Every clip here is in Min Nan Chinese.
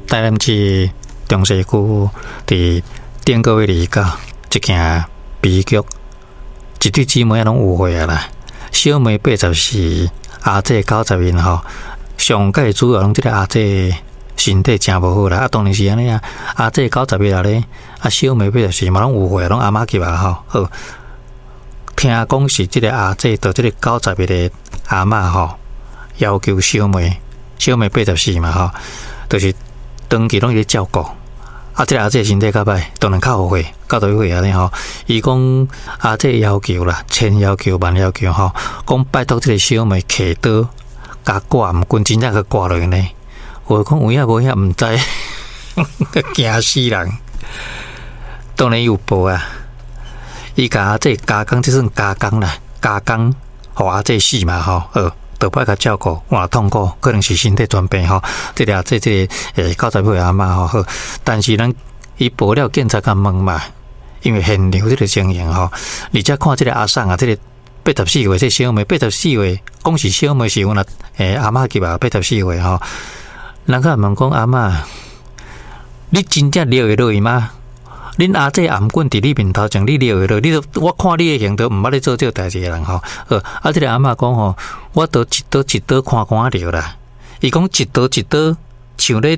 台南市中西區佇頂個月29，這件悲劇，一對姊妹仔攏有歲啊啦，小妹84，阿姐91吼。上蓋主要攏這个阿姐身體誠無好啦，啊，當然是按呢啊，阿姐91啦咧，啊，小妹84嘛攏有歲，攏阿嬤級啊吼。好，聽講是這个阿姐對這个91的阿嬤吼，要求小妹，小妹84嘛吼，就是長期攏佇咧照顧。啊，這个阿姐身體較歹，當然較有歲，90歲按呢吼。伊講阿姐要求啦，千要求萬要求吼，講拜託這个小妹揢刀，共割頷頸，真正共割落去呢。有講有影無影毋知，驚死人。當然伊有報啊，伊共阿姐加工，這算加工啦，加工予阿姐死嘛吼，好。就愛共照顧，哇痛苦，可能是身體全病吼。這个阿姐，這个90歲阿嬤吼好，但是咱伊報了警察共問嘛，因為現場這个情形吼，而且看這个阿嬸啊，這个84歲這小妹，八十四歲，講是小妹是阮阿阿嬤級啊，八十四歲吼。人共問講阿嬤，你真正掠會落去嗎？恁阿姐頷頸佇你面頭前，你掠會落？你都我看你的行動，毋捌咧做這个代誌的人吼。好，啊，這个阿嬤講吼，我都一刀一刀看看掠啦。伊講一刀一刀，像咧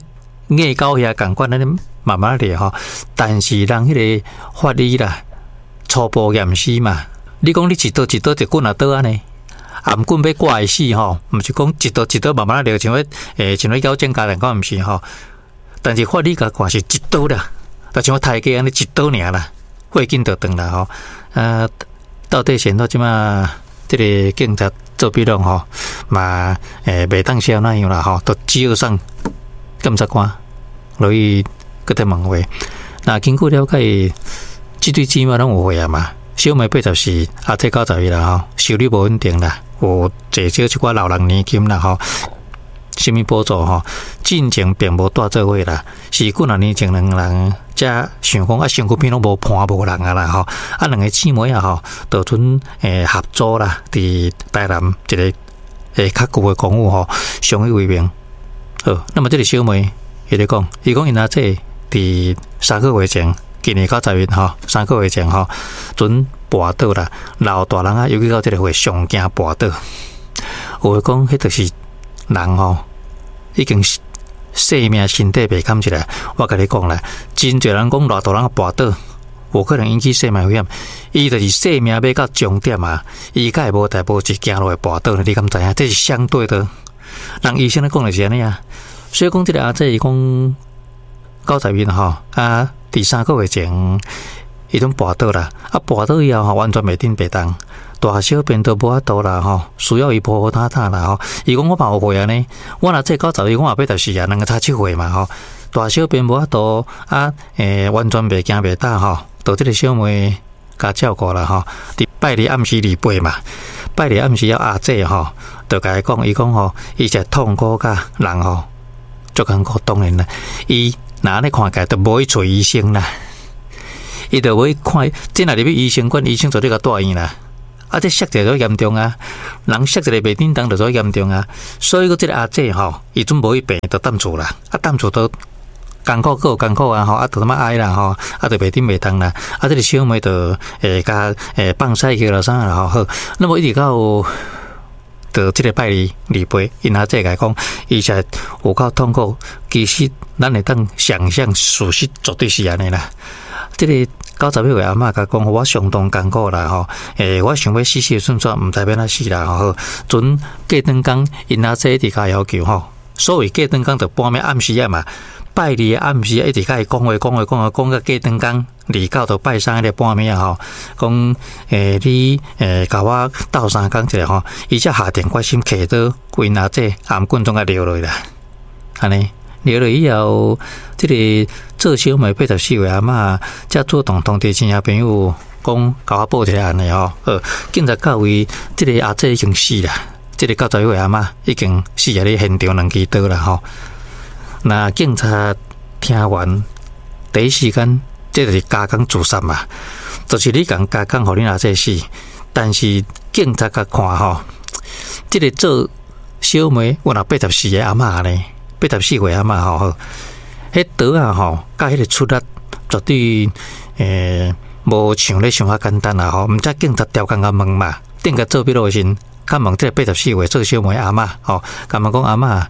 虐狗遐仝款按呢慢慢掠吼。但是人彼个法醫啦，初步驗屍嘛，你講你一刀一刀一棍仔刀按呢？頷頸欲割會死吼，毋是講一刀一刀慢慢掠，像彼像咧咬指甲來講，毋是吼。但是法醫共看是一刀啦。就像刣雞按呢一刀爾啦，血緊就斷啦吼。啊，到底是按怎這馬這个警察做筆錄吼，嘛袂當寫按怎樣啦吼，就只好送檢察官落去閣佇問話。那根據了解，這對姊妹攏有歲啊嘛，小妹84，阿姐91啦吼，收入無穩定啦，有濟少一寡老人年金啦吼。啥物補助吼？進前並無蹛做伙啦，是幾若年前兩人才想講啊，身軀邊攏無伴無人啊啦吼，啊兩个姊妹仔吼，就陣合租啦，佇台南一个較舊的公寓吼，相依為命。好，那麼這个小妹伊咧講，伊講𪜶阿姐佇3個月前，今年90日吼，三個月前吼，陣跋倒啦，老大人啊，尤其到這个歲上驚跋倒。有話講，彼就是人吼，已經生命身體袂堪一來。我共你講啦，真濟人講老大人跋倒，有可能引起生命危險。伊就是生命欲到終點啊，伊才會無代無誌行路會跋倒呢？你敢知影？這是相對的。人醫生咧講的是按呢啊。所以講，這个阿姐伊講91吼，啊，佇3個月前，伊陣跋倒啦，啊，跋倒以後吼，完全袂振袂動。大小便都無法度啦吼，需要伊扶扶擔擔啦吼。伊講我嘛有歲按呢，我若這91，我嘛84啊，兩个差7歲嘛吼。大小便無法度啊，完全袂行袂動吼。就這个小妹共照顧啦吼。佇拜二暗時28嘛，拜二暗時了阿姐吼，就共伊講，伊講吼，伊實痛苦甲人吼，足艱苦。當然啦，伊若按呢看起來，就無去揣醫生啦，伊就無去看，這若入去醫生館，醫生絕對共帶院啦。啊！這摔一个就嚴重啊，人摔一个袂振動就做嚴重啊。所以講，這个阿姐吼，伊陣無去病，就踮厝啦。啊，踮厝都艱苦，閣有艱苦啊！吼，啊，就這麼哀啦吼，啊，就袂振袂動啦。啊，這个小妹就會共放屎去啦啥啦吼。好，那麼一直到到這个拜二28，𪜶阿姐共伊講，伊實有夠痛苦。其實咱會當想象，事實絕對是按呢啦。這个91歲阿嬤共講，我相當艱苦啦吼，我想欲死死順煞，毋知欲按怎死啦吼。陣過轉工，𪜶阿姐一直共要求吼，所謂過轉工就半暝暗時仔嘛，拜二的暗時一直共伊講話講話講話講到過轉工，29到拜三彼個半暝仔吼，講你共我鬥相共一下吼，伊才下定決心揢刀，為𪜶阿姐頷頸總共掠落啦，按呢。掠落以後，這个做小妹84歲阿嬤，才主動通知親戚朋友，講共我報一个案的吼。好，警察到位，這个阿姐已經死啦，這个90歲阿嬤已經死佇咧現場兩支刀啦吼。那警察聽完，第一時間，這就是加工自殺嘛，就是你共加工予恁阿姐死，但是警察共看吼，這个做小妹有若84个阿嬤呢。84歲阿嬤吼，彼刀仔吼，佮彼个出力絕對無像咧想較簡單啦吼。毋才警察刁工共問嘛，頂個做筆錄的時陣，較問這個84歲做小妹阿嬤吼，共問講阿嬤，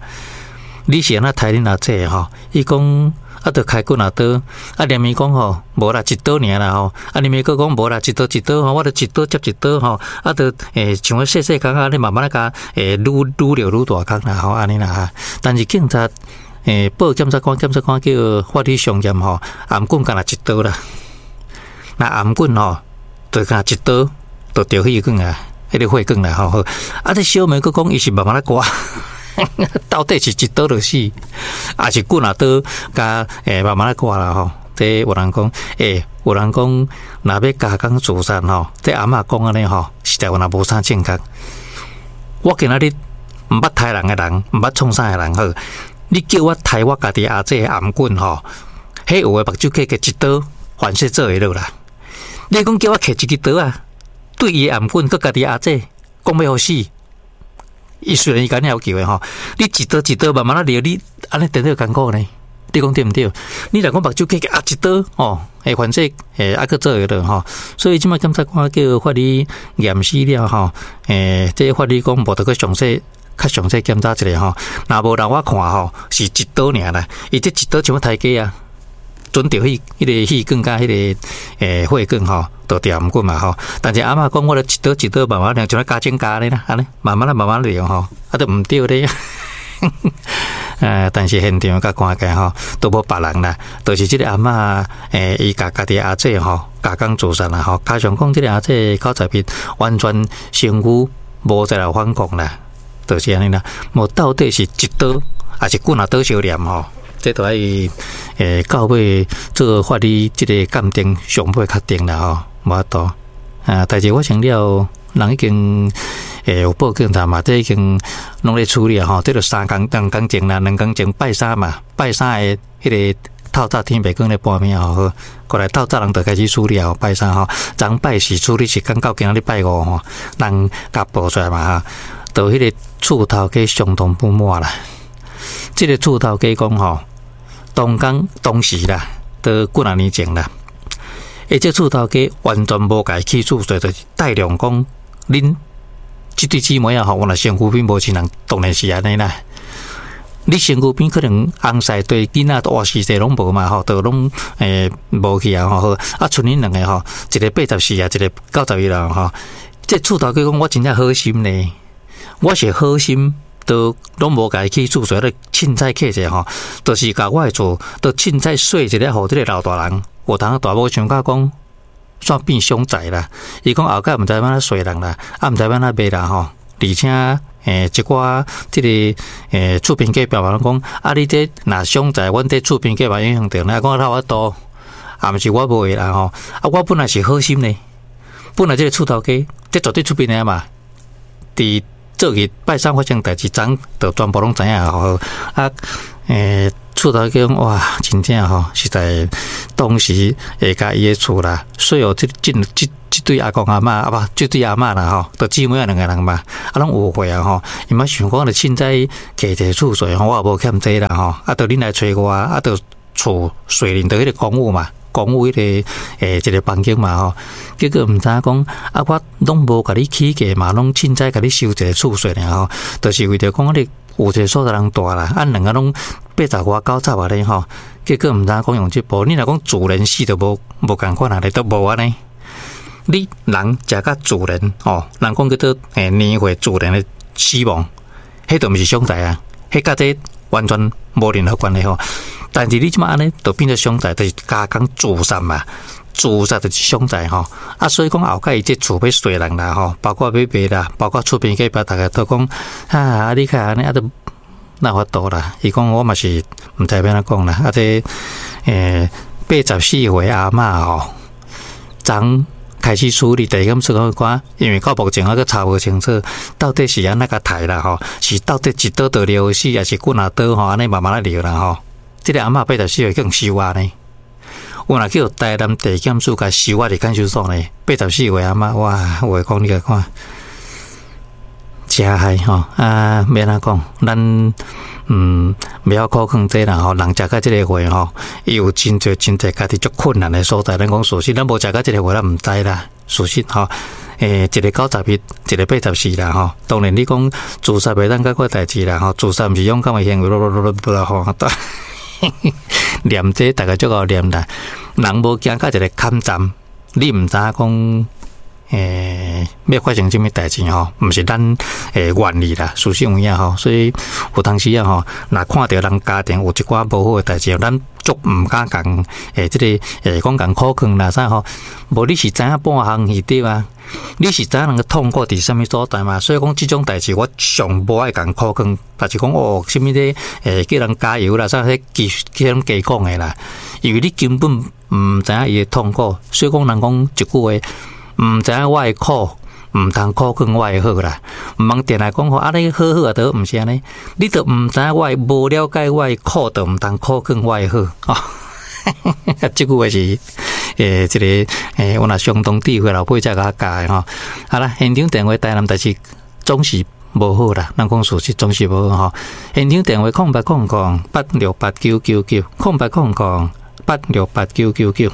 你是按怎刣恁阿姐吼？伊講啊，著開棍仔刀，啊，連伊講吼，無啦，一刀爾啦吼，啊，連伊閣講無啦，一刀一刀吼，我著一刀接一刀吼，啊，著像細細工按呢慢慢仔共愈愈掠愈大空啦吼，按呢啦哈。但是警察報檢察官，檢察官叫法醫相驗吼，頷頸干焦一刀啦，若頷頸吼，就干焦一刀，就著血管啊，彼個血管啦吼。啊，這小妹閣講伊是慢慢仔割。到底是一刀就死，抑是棍仔刀共慢慢仔割啦吼？這有人講，有人講，若欲加工自殺吼，這阿嬤講按呢吼，實在有若無啥正確。我今仔日毋捌刣人的人，毋捌創啥的人好，你叫我刣我家己阿姐的頷頸吼，彼有的目睭擘開一刀，反正做會落啦。你講叫我提一支刀仔，對伊的頷頸，閣家己阿姐講欲予死。伊雖然伊共你要求的吼，你一刀一刀慢慢仔掠，你按呢顛倒艱苦呢？你講對毋對？你若講目睭擘開啊一刀吼，反正猶閣做會落吼。所以這擺檢察官叫法醫驗屍了吼，這法醫講無得閣詳細較詳細檢查一下吼。若無人我看吼，是一刀爾啦。伊這一刀像刣雞啊，準著彼彼個血管佮彼個血管吼，就著頷頸嘛吼。但是阿嬤講，我著一刀一刀慢慢掠，像咧加減加咧啦，按呢慢慢仔慢慢掠吼，啊都毋對咧。但是現場佮看起來吼，都無別人啦，就是這個阿嬤伊共家己阿姐吼加工自殺啦吼，加上講這個阿姐口載面完全身軀無再來反抗啦，就是按呢啦。無到底是一刀，抑是棍仔刀相連吼？這都愛到尾做法醫這個鑑定上尾確定啦吼，無法度。啊，代誌發生了，人已經有報警察嘛，這已經攏咧處理啊吼。這就3工2工前啦，2工前拜三嘛，拜三的彼個透早天白光咧半暝吼，好，過來透早人就開始處理啊，拜三吼，昨拜四處理是講到今仔日拜五吼，人共報出來嘛哈，到彼個厝頭家相當不滿啦。這個厝頭家講吼，當工當時啦，都幾若年前啦。這厝頭家完全無共伊起厝稅，就是帶量講，恁這對姊妹仔吼，原來身軀邊無親人，當然是按呢啦。你身軀邊可能翁婿對囡仔活時勢攏無嘛吼，都攏無去啊吼。啊，賰恁兩個吼，一個84啊，一個91啦吼。這厝頭家講，我真正好心呢，我是好心。都攏無共伊起厝稅，咧凊彩契者吼，就是共我的厝，都凊彩稅一下，予這个老大人，有當大某想甲講，煞變傷財啦。伊講後蓋毋知欲按怎稅人啦，啊毋知欲按怎賣啦吼。而且一寡這个厝邊隔壁嘛攏講，啊你這若傷財，阮這厝邊隔壁影響著，若講哪有法度，也毋是我賣啦吼。啊，我本來是好心呢，本來這个厝頭家，這絕對出邊的嘛，佇。做去拜三發生代誌，昨就全部攏知影吼。啊，厝頭家講哇，真正吼，實在當時會共伊的厝啦，所有這這這這對阿公阿嬤啊無，這對阿嬤啦吼，就姊妹仔兩个人嘛，啊攏誤會啊吼，伊嘛想講著凊彩契一个厝稅吼，我也無欠這啦吼，啊，著恁來揣我，啊，著厝稅恁著彼個公寓嘛。公寓彼个一个房間嘛吼，結果毋知影講啊，我攏無共你起價嘛，攏凊彩共你收一个厝稅爾吼，就是為著講你有一个所在通蹛啦，啊兩个攏八十外九十仔咧吼，結果毋知影講用這步，你若講自然死就無無仝款啊，咧都無按呢。你人食甲自然吼，人講叫做年歲自然的死亡，彼就毋是傷財啊，彼佮這完全無任何關係吼。但是你這擺按呢，就變做傷財，就是加工自殺嘛，自殺就是傷財吼。啊，所以講後蓋伊這厝欲稅人啦吼，包括欲賣啦，包括厝邊隔壁，逐家都講啊，你較按呢啊，都哪有法度啦。伊講我嘛是毋知欲按怎講啦。啊，這84歲阿嬤吼，昨開始處理，第一咁說講，因為到目前還閣查無清楚，到底是按怎共刣啦吼，是到底一刀就勒死，抑是棍仔刀吼，按呢慢慢仔勒啦吼。這个阿嬤84歲去予收押呢，有若去台南地檢署共收押佇看守所呢。84歲阿嬤，哇，有話講你共看，誠害吼啊！欲按怎講？咱袂曉苦勸這啦吼，人食到這个歲吼，伊有真濟真濟家己足困難的所在。咱講事實，咱無食到這个歲，咱毋知啦。事實吼，一个91，一个84啦吼。當然你講自殺袂當解決代誌啦吼，自殺毋是勇敢的行為，吼。念這大家足夠念啦。人無行到一个坎站，你毋知影講。欲發生啥物代誌吼，毋是咱願意啦，事實有影吼，所以有當時啊吼，若看著人家庭有一寡無好的代誌，咱足毋敢共這个講共苦勸啦啥吼，無你是知影半項去對啊？你是知影人的痛苦佇啥物所在嘛？所以講這種代誌，我上無愛共苦勸，但是講哦，啥物咧叫人加油啦，啥彼其實攏假講的啦，因為你根本毋知影伊的痛苦，所以講人講一句話。毋知影我的苦，毋通苦勸我的好啦。毋通定來講吼，啊你好好啊，都毋是按呢。你都毋知影我的無了解我的苦，就毋通苦勸我的好。哦，這句話是這个我若相當智慧老輩才共我教的吼。好啦，現場電話台南代誌總是無好啦，咱講事實總是無好吼。現場電話0800868999，0800868999。